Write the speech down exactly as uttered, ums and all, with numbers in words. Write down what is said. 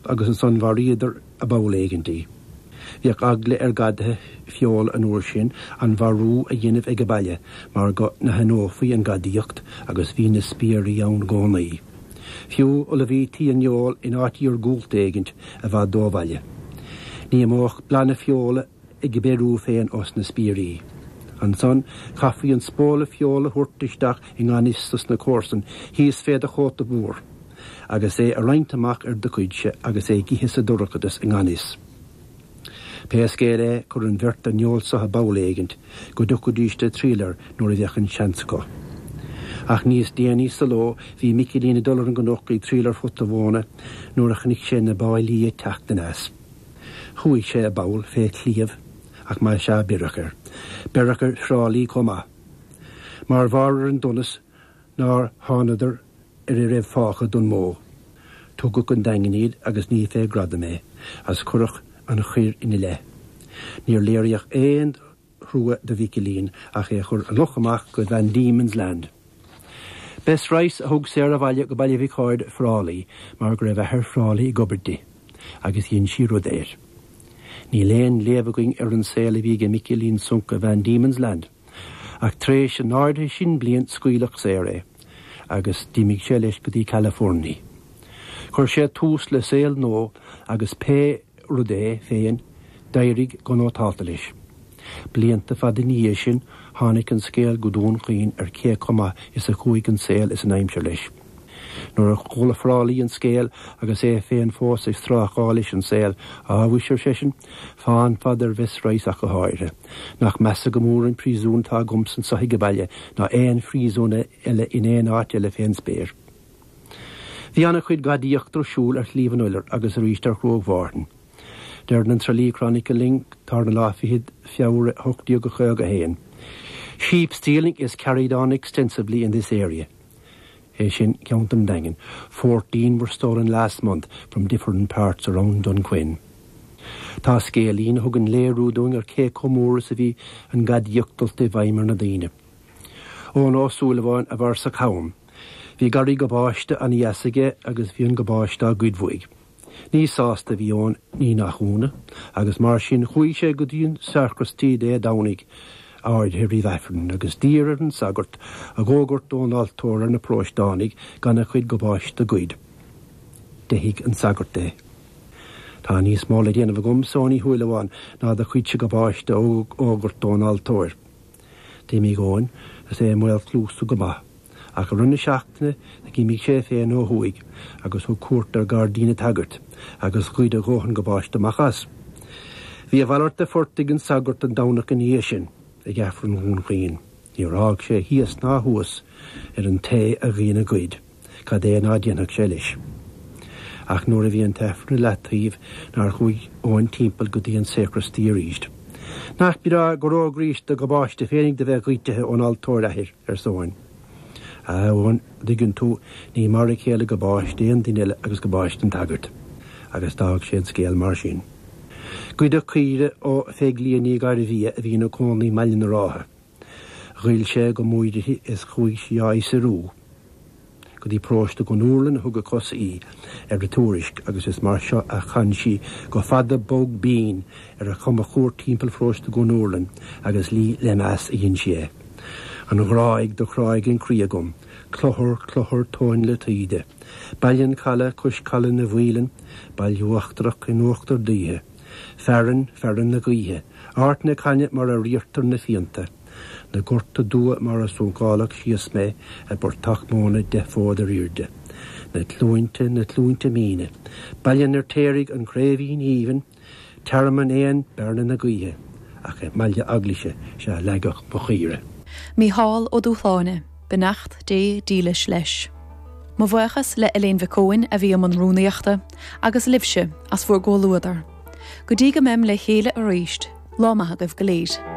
agus ansan mharaíodar i bpoll éigint í. Bhíodh eagla ar ghadaithe feola an uair sin an mharú a dhéanamh ag baile mar go n-aithneofaí an ghadaíocht agus bhí na spiairí ann i gcónaí. Fiú ullmhaítí an fheoil in áit iargúlta éigint i bhfad ó bhaile. Ní imeodh blas na feola ag beiriú féin os na spiairí. Ansan chaithfí an spóla feola a thabhairt isteach i ngan fhios dos na comharsain thíos fé do chóta mhór, agus é a roinnt amach ar do chuidse agus é ag ithe sa dorchadas i ngan fhios. Pé scéal é chuir an bheirt an fheoil so i bpoll éigint go dtiocfaidís le triall air nuair a bheadh an seans acu. Ach níos déanaí sa ló bhí Micilín ag dul ar an gcnoc ag triall ar phota mhóna nuair a chonaic sé na báillí ag teacht aneas. Chuaigh sé i bpoll fé chliabh ach más ea beireadh air. Beireadh ar Thráilí chomh maith. Mar bharr ar an donas nár thánadar ar a raibh fágtha don mbó. Tugadh 'on Daingean iad agus ní fé ghradam é, as cuireadh an choir ina leith. Níor léiríodh aon trua do Mhicilín ach é chur amach amach go Van Diemen's Land. Bess Rice a thug Sarah abhaile go Baile Mhic Aird Frálaí mar go raibh athair Frálaí ag obair di, agus dhein sí rud air. Níl aon léamh againn ar an saol a bhí ag Micilín Sunk i Van Diemen's Land, ach tréis an áirithe sin bliain scaoileadh saor é, agus d'imigh sé leis go dtí California. Chuir sé tús le saol nua agus pé rud é féin d'éirigh go nótálta leis. Blianta fada ina dhiaidh sin tháinig an scéal go Dún Chaoin ar cé chomh maith is a chuaigh an saol is an aimsir leis. Nuair a chuala Frálaí an scéal agus é féin fós ag strácáil leis an saol á bhuis ar seisean, fán fad ar Bhess Rice ach go háirithe. Nach measa go mór an príosún atá agamsa anseo ag baile ná aon phríosún eile in aon áit eile fén spéir. Bhí an-chuid gadaíochta ar siúl ar Shliabh an Iolair agus arís ar Chruach Mhárthain. Deireann an Tralee Chronicle linn tar na lá fichead Feabhra ocht déag caoga a haon. Sheep stealing is carried on extensively in this area. É sin ceantar an Daingin. Fourteen were stolen last month from different parts around Dunquin. Tá scéilín a thugann léiriú dúinn ar cé chomh mór is a bhí an ghadaíocht dulta i bhfeidhm ar na daoine. Eoin Ó Súilleabháin a bhar sa cham. Bhí garraí gabáiste an-dheas aige agus bhí an gabáiste á ghoid uaidh. Ní sásta a bhí Eoin ní nach ionadh, agus mar sin chuaigh sé go dtí an sacraistí Dé Domhnaigh áirithe roimh Aifreann agus d'iarr ar an sagart a dh'fhógairt ón altóir ar na paróisteánaigh gan a chuid gabáiste a ghoid. D'fheithigh an sagart é. Tá níos mó le déanamh agamsa a Eoin Uí Shúilleabháin ná do chuidse gabáiste a fhógairt ón altóir. D'imigh Eoin is é i mbaol cluasa go maith, ach i rith na seachtaine d'imigh sé féin ó thuaidh agus thug cuairt ar ghairdín an tsagairt agus ghoid a dhóthain gabáiste amach as. Bhí a mhalairt de phort ag an sagart an Domhnach ina dhiaidh sin ag Aifreann Dhún Chaoin. Níor fhág sé thíos ná thuas ar an té a dhein an ghoid, cad é ná déanfadh sé leis. Ach nuair a bhí an t-aifreann i leataobh nár chuaigh Eoin timpeall go dtí an sacraistí arís. Nach breá gur fhógraís do ghabáiste féinig do bheith goidte ón altóir a athair arsa Eoin. A Eoin dtuigeann tú ní mar a chéile gabáiste aon duine eile agus gabáiste an tsagairt, agus d'fhág sé an scéal mar sin. Goideadh caoire ó Pheig Liath Ní Ghairbhia a bhí ina cónaí i mBaile na Rátha. Ghoill sé go mór uirthi is chuaigh sí á fhiosrú. Go dtí paróiste Dhún Úrlann a thug a cosa í ar a tuairisc agus is mar seo a chan sí go fada bog binn ar a chuma chuar timpeall pharóiste Dhún Úrlann agus lí le meas a dhein sí é. An Ghráig do chráigh an croí agam, Clochar clochar tóin le taoide, Baile an Chalaidh cois Caladh na bhFaoileann, Baile Uachtarach in uachtar daoithe, Fearann fearann na gaoithe, Art na Cainne mar a riartar na fíonta, Na gorta dua mar a suncálach síos mé i bportach móna deich bhfód ar airde. Na cluainte na cluainte míne, Baile an Fheirtéaraigh an Chraoibhín Aoibhinn, Tearmann éan Bearna na gaoithe, ach i mBaile Eaglaise sea leagadh mo chaoire. Mícheál Ó Dúshláine, Beannacht Dé dílis leis. Mo bhuíochas le Elaine Mhic Eoin a bhí i mbun rúnaíochta agus libhse as bhur gcomhluadar. Go dtí go mbeim le chéile arís, lá maith agaibh go léir.